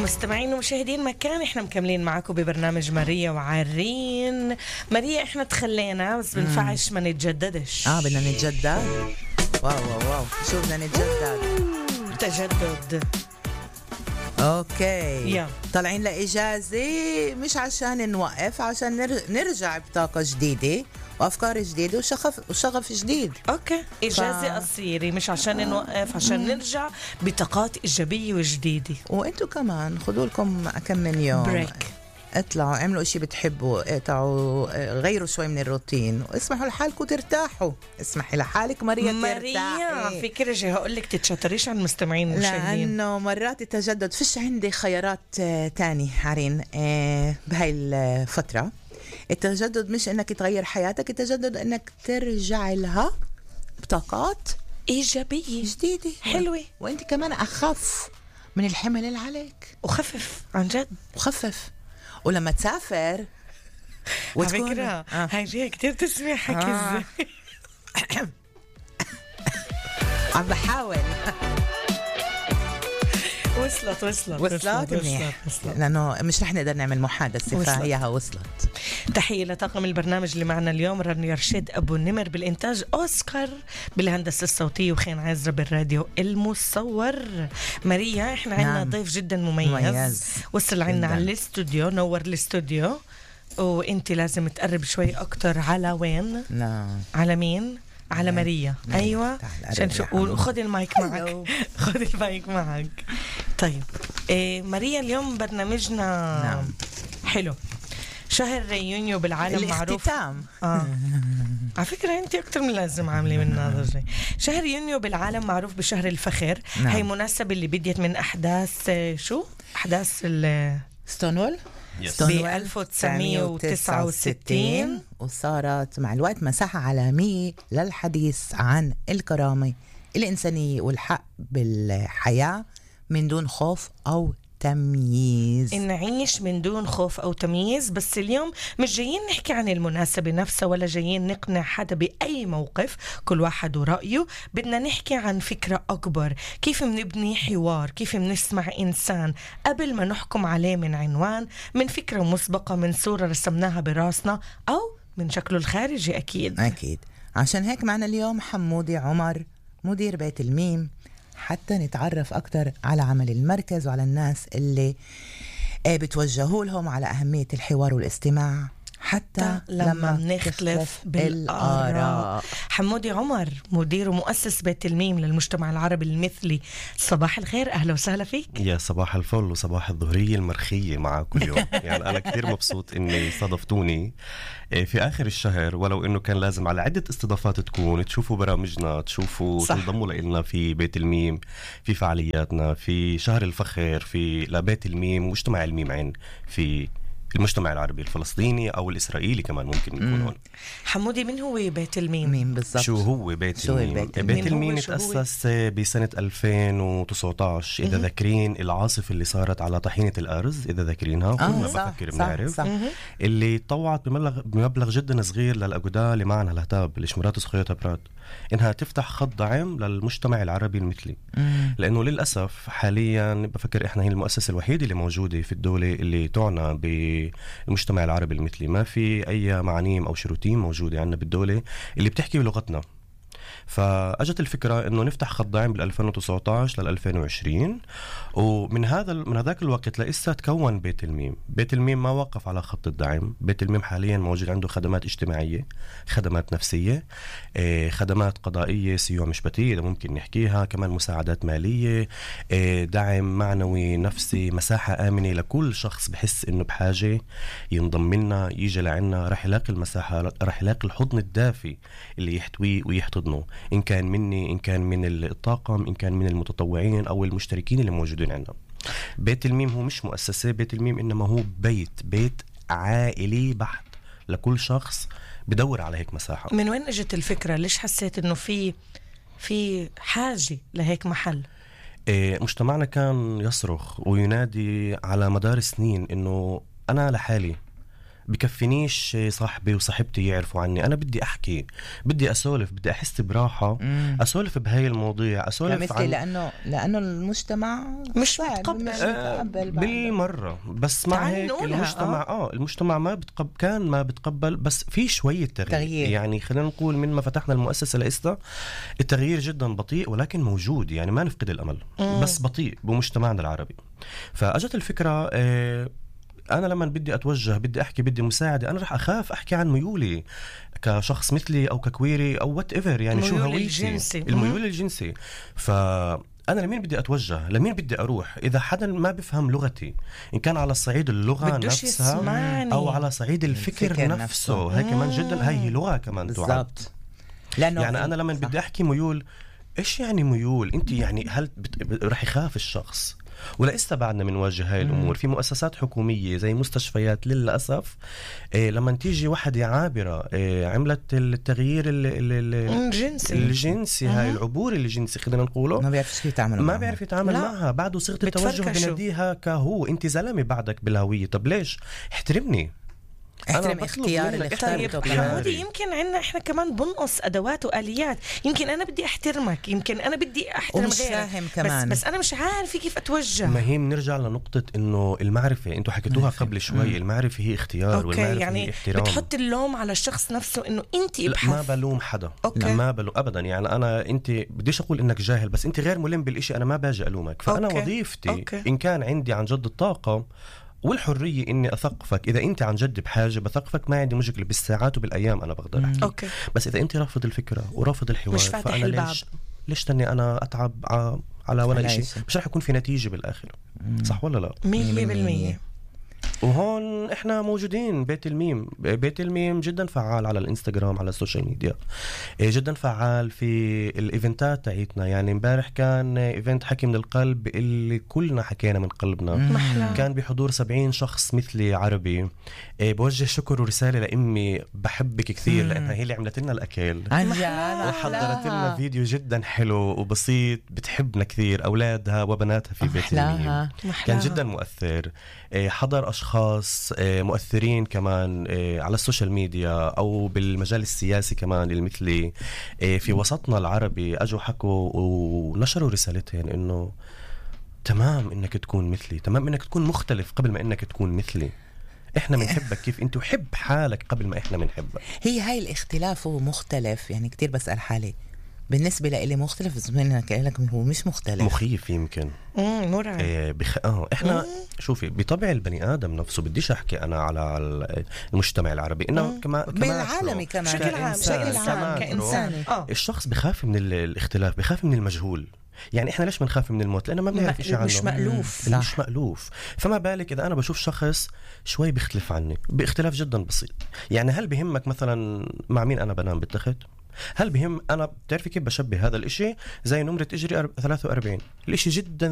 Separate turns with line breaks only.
مستمعين ومشاهدين مكان، احنا مكملين معاكم ببرنامج ماريا وعرين. ماريا احنا تخلينا بس بنفعش ما نتجددش.
بدنا نتجدد. واو شو بدنا نتجدد؟
تجدد.
اوكي طالعين لإجازة مش عشان نوقف، عشان نرجع بطاقة جديدة وأفكار جديدة وشغف جديد.
اوكي إجازة قصيرة مش عشان نوقف، عشان نرجع بطاقات إيجابية وجديدة.
وانتوا كمان خدوا لكم كم من يوم
بريك،
اطلعوا اعملوا اشي بتحبوا، اقطعوا، غيروا شوي من الروتين واسمحوا لحالكم ترتاحوا. اسمحي لحالك ماريا
ماريا فكرة جاي هقولك تتشطريش عن المستمعين والمشاهدين،
لأنه مرات التجدد فيش عندي خيارات تاني عرين. بهاي الفترة التجدد مش انك تغير حياتك، التجدد انك ترجع لها بطاقات
إيجابية
جديدة
حلوة،
وانت كمان اخف من الحمل اللي عليك،
وخفف عن جد
وخفف. ولما تسافر
على فكرة هاي جاية كتير تسمع حكي ازاي.
عم بحاول. وصلت منيح، لأنه مش رح نقدر نعمل محادثة فهيها وصلت.
تحية لطاقم البرنامج اللي معنا اليوم، رانيا رشيد أبو النمر بالإنتاج، أوسكار بالهندسة الصوتية، وخين عزرا بالراديو المصور. ماريا احنا عنا ضيف جدا مميز وصل عنا على الاستوديو، نور الاستوديو، وانت لازم تقرب شوي أكتر. على وين؟ على مين؟ على ماريا. ايوه عشان شو، خذ المايك معك. خذ المايك معك. طيب ماريا اليوم برنامجنا حلو. شهر يونيو بالعالم معروف على فكرة انت اكتر من لازم عاملة من هذا. شهر يونيو بالعالم معروف بشهر الفخر. هي مناسبة اللي بديت من احداث احداث
ستونوول
ب 1969
وصارت مع الوقت مساحة عالمية للحديث عن الكرامة الإنسانية والحق بالحياة من دون خوف أو تمييز.
نعيش من دون خوف أو تمييز. بس اليوم مش جايين نحكي عن المناسبة نفسها ولا جايين نقنع حدا بأي موقف، كل واحد ورأيه. بدنا نحكي عن فكرة أكبر، كيف منبني حوار، كيف منسمع إنسان قبل ما نحكم عليه من عنوان، من فكرة مسبقة، من صورة رسمناها براسنا أو من شكله الخارجي. أكيد.
عشان هيك معنا اليوم حمودي عمر مدير بيت الميم، حتى نتعرف أكتر على عمل المركز وعلى الناس اللي بتوجهوا لهم، على أهمية الحوار والاستماع حتى لما نختلف بالآراء.
حمودي عمر مدير ومؤسس بيت الميم للمجتمع العربي المثلي، صباح الخير، أهلا وسهلا فيك.
يا صباح الفل وصباح الظهرية المرخية معكم اليوم. يعني أنا كثير مبسوط إني صادفتوني في آخر الشهر، ولو إنه كان لازم على عدة استضافات تكون تشوفوا برامجنا، تشوفوا تنضموا لنا في بيت الميم، في فعالياتنا، في شهر الفخر، في لبيت الميم، مجتمع الميم عين في المجتمع العربي الفلسطيني أو الإسرائيلي كمان ممكن يكون هون.
حمودي، من هو بيت الميم؟
مين بالضبط؟
شو هو بيت الميم؟ بيت الميم تأسس بسنة 2019 إذا ذاكرين العاصفة اللي صارت على طحينة الأرز، إذا ذاكرينها كلنا بفكر بنعرف، اللي طوعت بمبلغ جدا صغير للأجودة اللي معنا الهتاب الإشمرات سخيطة براد إنها تفتح خط دعم للمجتمع العربي المثلي. لأنه للأسف حاليا بفكر إحنا هي المؤسسة الوحيدة اللي موجودة في الدولة اللي تعنى بالمجتمع العربي المثلي. ما في أي معانيم أو شروطين موجودة عندنا بالدولة اللي بتحكي بلغتنا. فأجت الفكرة إنه نفتح خط دعم بال 2019 لل 2020، ومن هذاك الوقت لسه تكون بيت الميم. بيت الميم ما وقف على خط الدعم. بيت الميم حاليا موجود عنده خدمات اجتماعية، خدمات نفسية، خدمات قضائية، سيوع مشبتية إذا ممكن نحكيها، كمان مساعدات مالية، دعم معنوي نفسي، مساحة آمنة لكل شخص بحس إنه بحاجة ينضم لنا، يجي لعنا، رح يلاقي المساحة، رح يلاقي الحضن الدافي اللي يحتويه ويحتضنه، إن كان مني، إن كان من الطاقم، إن كان من المتطوعين أو المشتركين اللي موجودين عندنا. بيت الميم هو مش مؤسسة، بيت الميم إنما هو بيت عائلي بحت لكل شخص بدور على هيك مساحة.
من وين اجت الفكرة؟ ليش حسيت إنه في حاجة لهيك محل؟
مجتمعنا كان يصرخ وينادي على مدار سنين إنه أنا لحالي، بكفينيش صاحبي وصاحبتي يعرفوا عني. أنا بدي أحكي، بدي أسولف، بدي أحس براحة أسولف بهاي المواضيع، أسولف
عن لأنه المجتمع
مش متقبل
بالمرة. بس مع هيك المجتمع المجتمع ما بتقبل بس في شوية تغيير. يعني خلينا نقول من ما فتحنا المؤسسة لإستا التغيير جدا بطيء ولكن موجود، يعني ما نفقد الأمل بس بطيء بمجتمعنا العربي. فأجت الفكرة أنا لما بدي أتوجه، بدي أحكي، بدي مساعدة، أنا رح أخاف أحكي عن ميولي كشخص مثلي أو ككويري أو whatever، يعني شو هويتي، الميول الجنسي. أنا لمين بدي أتوجه، لمين بدي أروح إذا حدا ما بفهم لغتي، إن كان على صعيد اللغة نفسها أو على صعيد الفكر نفسه. هاي كمان جدا، هاي لغة كمان
بالضبط.
يعني أنا لما بدي أحكي ميول، إيش يعني ميول؟ أنت يعني هل رح يخاف الشخص؟ ولا بعدنا منواجه هاي الأمور في مؤسسات حكومية زي مستشفيات. للأسف لما تيجي واحدة عابرة عملت التغيير الجنسي هاي العبور الجنسي خلينا نقوله،
ما بيعرف شو يتعامل
ما بيعرف يتعامل معها. بعده صيغة التوجه بناديها كهو، انت زلمة بعدك بالهوية. طب ليش؟ احترمني،
احترم اختيار اللي اختارته.
حمودي يمكن عنا احنا كمان بنقص ادوات واليات. يمكن انا بدي احترمك، يمكن انا بدي احترم غيرك، بس انا مش عارفه كيف اتوجه.
ما هي بنرجع لنقطه انه المعرفه، انتوا حكيتوها قبل شوي. المعرفه هي اختيار، والمعرفه
يعني
هي احترام.
بتحط اللوم على الشخص نفسه انه انت ابحث.
ما بلوم حدا، ما بلوم ابدا. يعني انت بديش اقول انك جاهل، بس انت غير ملم بالاشي، انا ما باجي الومك. فانا وظيفتي ان كان عندي عن جد الطاقه والحرية إني أثقفك. إذا أنت عن جد بحاجة بثقفك، ما عندي مشكلة، بالساعات وبالأيام أنا بقدر أحكي. بس إذا أنت رافض الفكرة ورافض الحوار، فأنا ليش تاني أنا أتعب على ولا شيء؟ مش رح يكون في نتيجة بالآخر. صح ولا لا؟
100%.
وهون احنا موجودين. بيت الميم جدا فعال على الانستغرام، على السوشيال ميديا، جدا فعال في الايفنتات تاعتنا. يعني امبارح كان ايفنت حكي من القلب اللي كلنا حكينا من قلبنا. كان بحضور 70 شخص مثلي عربي. بوجه شكر ورسالة لأمي، بحبك كثير لأنها هي اللي عملت لنا الأكل وحضرت لنا فيديو جدا حلو وبسيط. بتحبنا كثير، أولادها وبناتها في بيت الميم. كان جدا مؤثر. حضر أشخاص مؤثرين كمان على السوشيال ميديا أو بالمجال السياسي كمان المثلي في وسطنا العربي، أجوا حكوا ونشروا رسالتين إنه تمام إنك تكون مثلي، تمام إنك تكون مختلف قبل ما إنك تكون مثلي. إحنا بنحبك كيف أنت، وحب حالك قبل ما إحنا بنحبك.
هي هاي الاختلاف ومختلف. يعني كتير بسأل حالي بالنسبة لإلي مختلف، بس لك هو مش مختلف،
مخيف يمكن.
مرعب.
احنا شوفي بطبع البني آدم نفسه، بديش أحكي أنا على المجتمع العربي، إنه كمان
بالعالمي كمان
كإنسان. الشخص بخاف من الاختلاف، بخاف من المجهول. يعني احنا ليش بنخاف من الموت؟ لأنه ما بنعرف شيء عنه، مش مألوف. فما بالك إذا أنا بشوف شخص شوي بيختلف عني باختلاف جدا بسيط. يعني هل بهمك مثلا مع مين أنا بنام بالتخت؟ هل بهم أنا بتعرفي كيف بشبه هذا الإشي؟ زي نمرة إجري 43. الإشي جدا